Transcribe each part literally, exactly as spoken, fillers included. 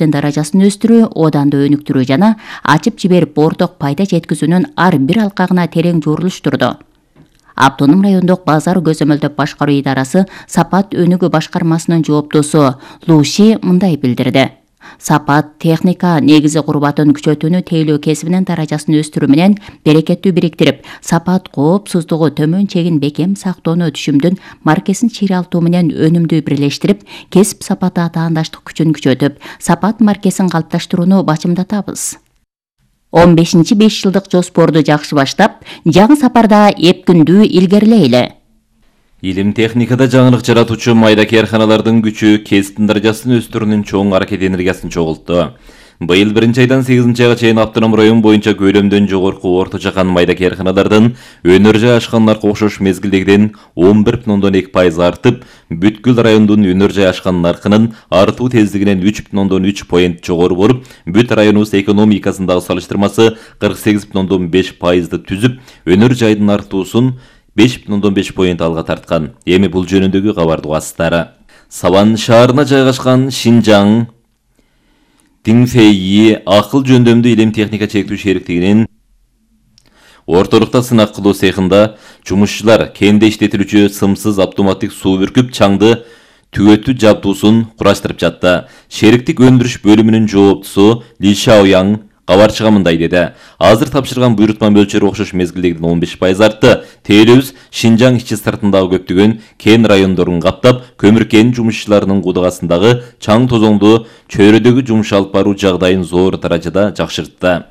даражасын өстүрүү, одан да өнүктүрүү жана ачып жиберип орток пайда жеткизүүнүн ар бир алкагына терең журулуштурду. Автоном райондук базар көзөмөлдөп башкаруу идарасы Сапат өнүгүү башкармасынын жооптосу Луши мындай билдирди. Сапат техника негизи курбатын күчөтүүнү тейлөө кесибинин даражасын өстүрүү менен берекеттүү бириктирип, сапат коопсуздугу төмөн чегин бекем сактоону түшүмдүн маркесин чыйралтуу менен өнүмдүү бирлештирип, кесип сапаты атаандаштык күчүн күчөтүп, сапат маркесин калыпташтырууну бачымдатабыз. он бешинчи беш жылдык жоспорду жакшы баштап, жаңы сапарда эпкүндүү илгерилейли. Илим техникада жаңылык жаратуучу майда кээрханалардын күчү кесиптин даражасын өстүрүүнүн чоң аракет энергиясын чогултту. Быйыл биринчи айдан сегизинчи айга чейин автоном район боюнча көлөмдөн жогорку орто жакан майда кээрханалардын өнөр жай ашкандарга окшош мезгилдегиден он бир бүтүн ондон эки пайыз артып, бүткүл райондун өнөр жай ашкан наркынын артуу тездигинен үч бүтүн ондон үч поинт жогору болуп, бүт районубуз экономикасындагы салыштырмасы кырк сегиз бүтүн ондон беш пайызды түзүп, өнөр жайдын артуусун беш бүтүн ондон беш поинт алга тарткан. Эми бул жөнүндөгү кабарды угасыздар. Саван шаарына жайгашкан Шинжаң Динфейи акыл жөндөмдүү илим техника чектүү шериктигинин ортолукта сынак кылуу цехинда жумушчулар кенде иштетилүүчү сымсыз автоматтык суу бүркүп чаңды түгөтүү жабдуусун кураштырып жатты. Шериктик өндүрүш бөлүмүнүн жооптусу Ли Шаояң кабарчыга мындай деди. Азыр тапшырган буйрутма мөлчөрү окшош мезгилдегиден он беш пайыз артты. Тейлөөбүз Шинжаң ичи сыртындагы көптөгөн кен райондорун каптап, көмүр кен жумушчуларынын кудагасындагы чаң тозоңду чөйрөдөгү жумуш алып баруу жагдайын зор даражада жакшыртты.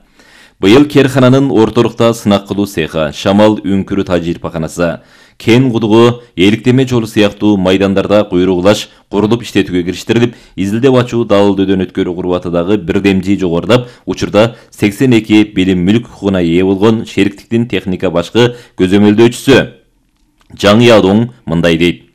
Быйыл кээрхананын ортолукта сынак кылуу цехи, Шамал үңкүрү тажрыйбаканасы, кен кудугу, эликтеме жолу сыяктуу майдандарда куйругулаш курулуп иштетүүгө кириштирилип, изилдеп ачуу далылдөөдөн өткөрүү курбатыдагы бирдемжи жогорулап, учурда сексен эки билим мүлк укугуна ээ болгон шериктиктин техника башкы көзөмөлдөөчүсү Жаң Ядоң мындай дейт.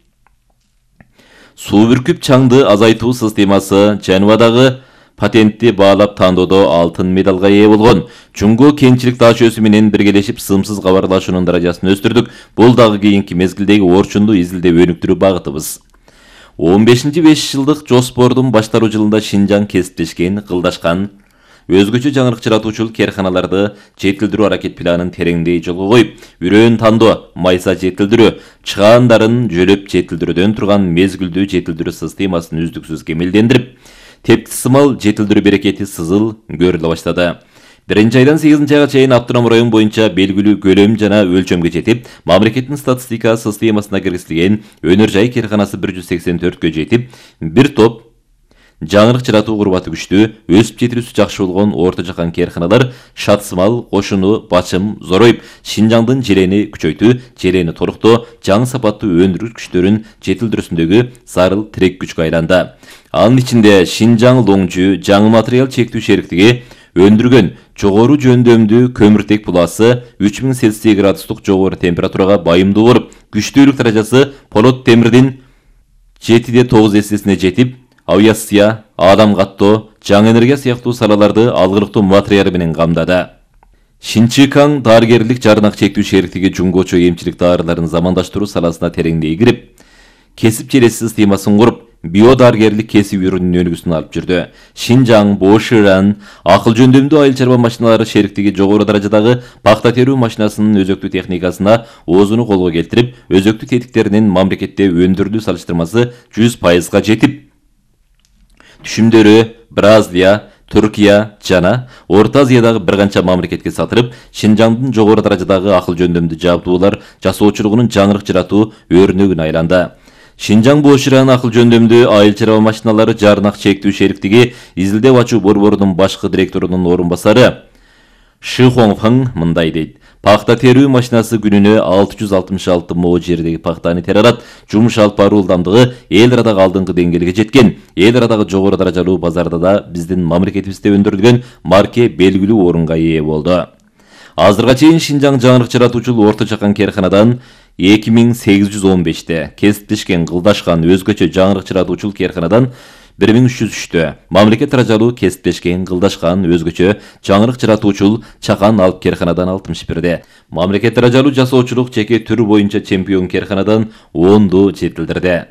Суу бүркүп чаңды азайтуу системасы Женевадагы патентти баалап тандоодо алтын медалга ээ болгон. Жунго кенчилик таашөөсү менен биргелешип сымсыз кабарлашуунун даражасын өстүрдүк. Бул дагы кийинки мезгилдеги орчунду изилдеп өнүктүрүү багытыбыз. он бешинчи беш жылдык жоспордун башталуу жылында Шинжаң кесиптешкен, кылдашкан, өзгөчө жаңылык жаратуучулук кээрханаларды жетилдирүү аракет планын тереңдей жолго коюп, үрөөн тандоо, майса жетилдирүү, чыгаандарын жөлөп жетилдирүүдөн турган мезгилдүү жетилдирүү системасын үздүксүз кемелдендирип, тепки сымал жетилдирүү берекети сызыл көрүлө баштады. Биринчи айдан сегизинчи айга чейин автоном район боюнча белгилүү көлөм жана өлчөмгө жетип, мамлекеттин статистика системасына киргизилген өнөр жай кээрханасы бир жүз сексен төрткө жетип, бир топ жаңылык жаратуу курбаты күчтүү, өсүп жетилүүсү жакшы болгон орто жакан кээрханалар Шатсымал, Кошуну, Бачым зороюп, Шинжаңдын желени күчөйтүү, желени толуктоо, жаңы сапаттуу өндүрүү күчтөрүн жетилдирүүсүндөгү зарыл тирек күчкө айланды. Анын ичинде Шинжаң Лоңжу жаңы материал чектүү шериктиги өндүргөн жогору жөндөмдүү көмүртек буласы үч миң Цельсий градустук жогору температурага байымдуу болуп, күчтүүлүк даражасы полот темирдин жети де тогуз эссесине жетип, авиация, адам каттоо, жаңы энергия сыяктуу салаларды алгылыктуу материал менен камдады. Шинчикаң дарыгерлик жарнак чектүү шериктиги жунгочо эмчилик дарыларын замандаштыруу саласына тереңдей кирип, кесип желеси системасын куруп, биодарыгерлик кесип үрүнүнүн өнүгүүсүн алып жүрдү. Шинжаң, Боширан, акыл жөндөмдүү айыл чарба машиналары шериктиги жогору даражадагы пахта терүү машинасынын өзөктүү техникасына оозуну колго келтирип, өзөктүү тетиктеринин мамлекетте өндүрүлүү салыштырмасы жүз пайызга жетип, түшүмдөрү Бразилия, Түркия жана Орто Азиядагы бир канча мамлекетке сатырып, Шинжаңдын жогору даражадагы акыл жөндөмдүү жабдуулар жасоочулугунун жаңылык жаратуу өрнөгүнө айланды. Шинжаң Боширан акыл жөндөмдүү айыл чарба машиналары жарнак чектүү шериктиги изилдеп ачуу борборунун башкы директорунун орун басары Ши Хоңфың мындай дейт. Пахта терүү машинасы күнүнө алты жүз алтымыш алты мо жердеги пахтаны тере алат. Жумуш алып баруу ылдамдыгы эл арадагы алдыңкы деңгээлге жеткен. Эл арадагы жогору даражалуу базарда да биздин мамлекетибизде өндүрүлгөн марке белгилүү орунга ээ болду. Азырга чейин Шинжаң жаңылык жаратуучулук орто жакан кээрханадан эки миң сегиз жүз он беште, кесиптешкен, кылдашкан өзгөчө жаңылык жаратуучулук кээрханадан бир миң үч жүз үчтө, мамлекет даражалуу кесиптешкен, кылдашкан өзгөчө жаңылык жаратуучул чакан алып кээрханадан алтымыш бирде, мамлекет даражалуу жасоочулук жеке түрү боюнча чемпион кээрханадан онду жетилдирди.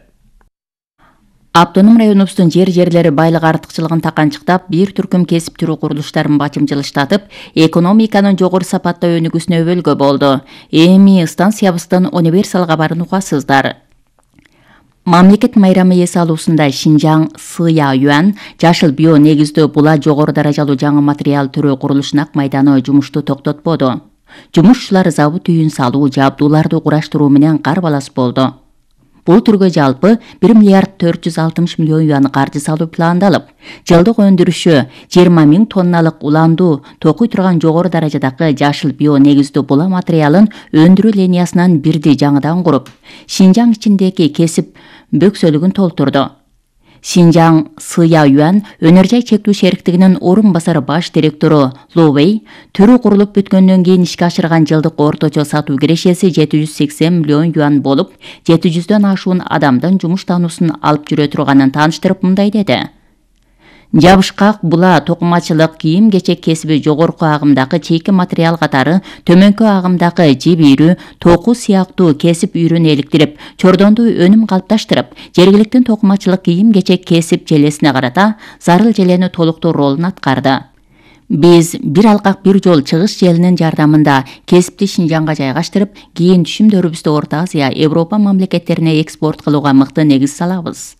Автоном районубуздун жер жерлери байлык артыкчылыгын таканчыктап, бир түркүм кесип түрү курулуштарын бачымчылыштатып, экономиканын жогору сапаттоо өнүгүүсүнө өбөлгө болду. Эми станциябыздын универсал кабарын угасыздар. Мамлекет майрамы эс алуусунда Шинжаң Сыя Юан жашыл био негиздүү була жогору даражалуу жаңы материал түрү курулушунун ак майданы жумушту токтотподу. Жумушчулар завод үйүн салуу, жабдууларды кураштыруу менен карбалас болду. Бул түргө жалпы бир миллиард төрт жүз алтымыш миллион юан каржы салуу пландалып, жылдык өндүрүшү жыйырма миң тонналык уландуу токуй турган жогору даражадагы жашыл био негиздүү була материалын өндүрүү линиясынан бирди жаңыдан куруп, Шинжаң ичиндеги кесип бөксөлүгүн толтурду. Шинжаң Сыя Юан өнөр жай чектүү шериктигинин орун басары баш директору Лу Вэй түрү курулуп бүткөндөн кийин ишке ашырган жылдык орточо сатуу кирешеси жети жүз сексен миллион юан болуп, жети жүздөн ашуун адамдын жумуш таануусун алып жүрө турганын тааныштырып мындай деди. Жабышкак, була, токумачылык, кийим-кечек кесиби жогорку агымдагы чейки материал катары төмөнкү агымдагы жип үйрү, току сыяктуу кесип үйрүн эликтирип, чордондуу өнүм калыпташтырып, жергиликтүү токумачылык кийим-кечек кесип желесине карата зарыл желени толуктоо ролун аткарды. Биз бир алкак бир жол чыгыш желинин жардамында кесипти Шинжаңга жайгаштырып, кийин түшүмдөрүбүздү Орто Азия, Европа мамлекеттерине экспорт кылууга мыкты негиз салабыз.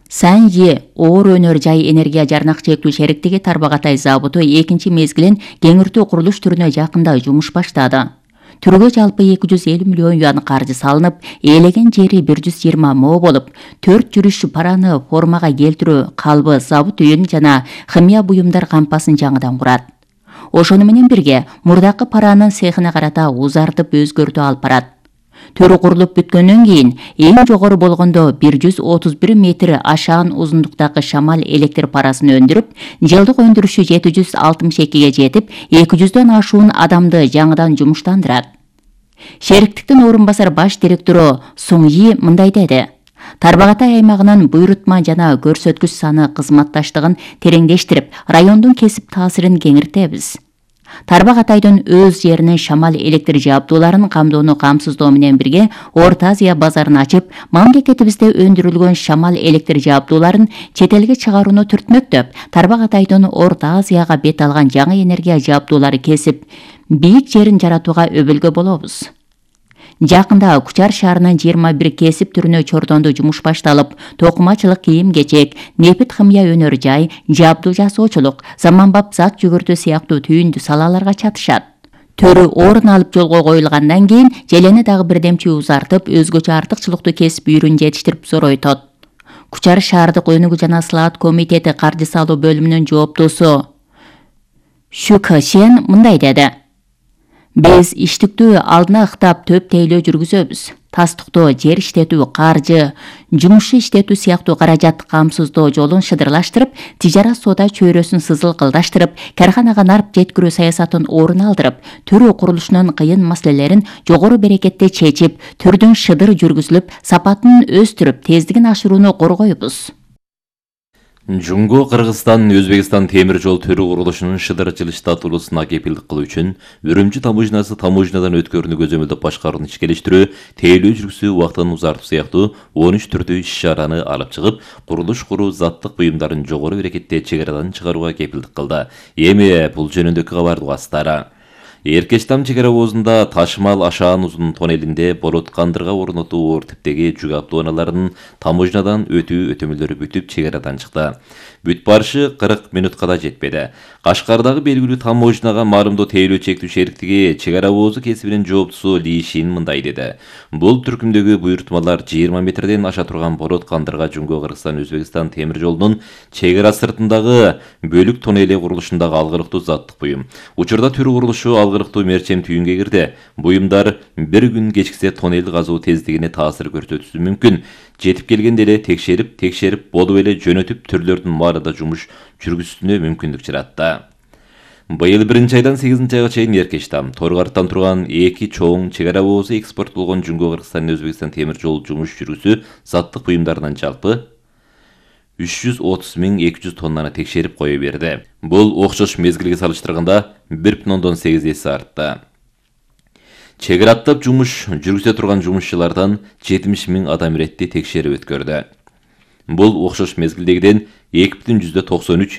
Саньи оор өнөр жай энергия жарнак чектүү шериктиги Тарбагатай заводу экинчи мезгилин кеңиртүү курулуш түрүнө жакында жумуш баштады. Түргө жалпы эки жүз элүү миллион юан каржы салынып, ээлеген жери бир жүз жыйырма мо болуп, төрт жүрүш параны формага келтирүү, калбы, завод үйүн жана химия буюмдар кампасын жаңыдан курат. Ошону менен бирге мурдакы паранын цехине карата узартып өзгөртүү алып барат. Төрү курулуп бүткөндөн кийин эң жогору болгондо бир жүз отуз бир метр ашаан узундуктагы шамал электр парасын өндүрүп, жылдык өндүрүшү жети жүз алтымыш экиге жетип, эки жүздөн ашуун адамды жаңыдан жумуштандырат. Шериктиктин орун басар баш директору Суңйи мындай деди. Тарбагатай аймагынын буйрутма жана көрсөткүч саны кызматташтыгын тереңдештирип, райондун кесип таасирин кеңиртебиз. Тарбагатайдын өз жеринин шамал электр жабдууларын камдоону камсыздоо менен бирге Орто Азия базарын ачып, мамлекетибизде өндүрүлгөн шамал электр жабдууларын чет элге чыгарууну түртмөктөп, Тарбагатайдын Орто Азияга бет алган жаңы энергия жабдуулары кесип, бийик жерин жаратууга өбөлгө болобуз. Жакында Кучар шаарынын жыйырма бир кесип түрүнө чордондуу жумуш башталып, токумачылык, кийим-кечек, нефит химия өнөр жай, жабдуу жасоочулук, заманбап зат жүгүртүү сыяктуу түйүндүү салаларга чатышат. Төрү орун алып жолго коюлгандан кийин желени дагы бирдемчи узартып, өзгөчө артыкчылыктуу кесип үйрүн жетиштирип зоройтот. Кучар шаардык өнүгүү жана слаат комитети каржы салуу бөлүмүнүн жооптусу Шүкө Шен мындай деди. Биз иштиктүү алдына ыктап төп тейлөө жүргүзөбүз. Тастыктоо, жер иштетүү, каржы, жумушу иштетүү сыяктуу каражат камсыздоо жолун шыдырлаштырып, тижарат соода чөйрөсүн сызылкылдаштырып, карханага нарп жеткирүү саясатын орун алдырып, түрү курулушунун кыйын маселелерин жогору берекетте чечип, түрдүн шыдыр жүргүзүлүп, сапатын өстүрүп, тездигин ашырууну коргойбуз. Жунго Кыргызстан Өзбекстан темир жол түрү курулушунун шыдыр жылыштатуулусуна кепилдик кылуу үчүн Үрүмчү таможнясы таможнядан өткөрүүнү көзөмөлдөп башкарууну ишкелештирүү, тейлөө жүргүзүү убактын узартуу сыяктуу он үч түрдүү иш-чараны алып чыгып, курулуш куруу заттык буюмдарын жогору берекетте чек арадан чыгарууга кепилдик кылды. Эми бул жөнүндөгү кабарды угасыздар. Эркечтам чек ара обозунда Ташмал Ашаан узун тоннелинде болот кандырга орнотуу оор типтеги жүк автоунааларынын таможнядан өтүү өтөмөлөрү бүтүп чек арадан чыкты. Бүт барышы кырк минутка да жетпеди. Кашкардагы белгилүү таможняга марымдоо тейлөө чектүү шериктиги чек ара обозу кесибинин жооптусу Ли Шин мындай деди. Бул түркүмдөгү буйрутмалар жыйырма метрден аша турган болот кандырга Жунго Кыргызстан Өзбекстан темир жолунун чек ара сыртындагы бөлүк тоннели курулушундагы алгырыктуу заттык буюм. Учурда түрү курулушу алгырыктуу мерчем түйүнгө кирди. Буюмдар бир күн кечиксе тоннел казуу тездигине таасир көрсөтүшү мүмкүн. Жетип келгенде эле текшерип, текшерип болуп эле жөнөтүп түрлөрдүн баарында жумуш жүргүзүүсүнө мүмкүндүк жаратты. Быйыл биринчи айдан сегизинчи айга чейин Эркечтам, Торгарттан турган эки чоң чек ара обозу экспорт болгон Жунго Кыргызстан Өзбекстан темир жол жумуш жүргүзүү заттык буюмдарынан жалпы үч жүз отуз миң эки жүз тоннаны текшерип кое берди. Бул окшош мезгилге салыштырганда бир бүтүн ондон сегиз эсе артты. Чек араттап жумуш жүргүзө турган жумушчулардан жетимиш миң адам иретти текшерип өткөрдү. Бул окшош мезгилдегиден эки бүтүн жүздө токсон үч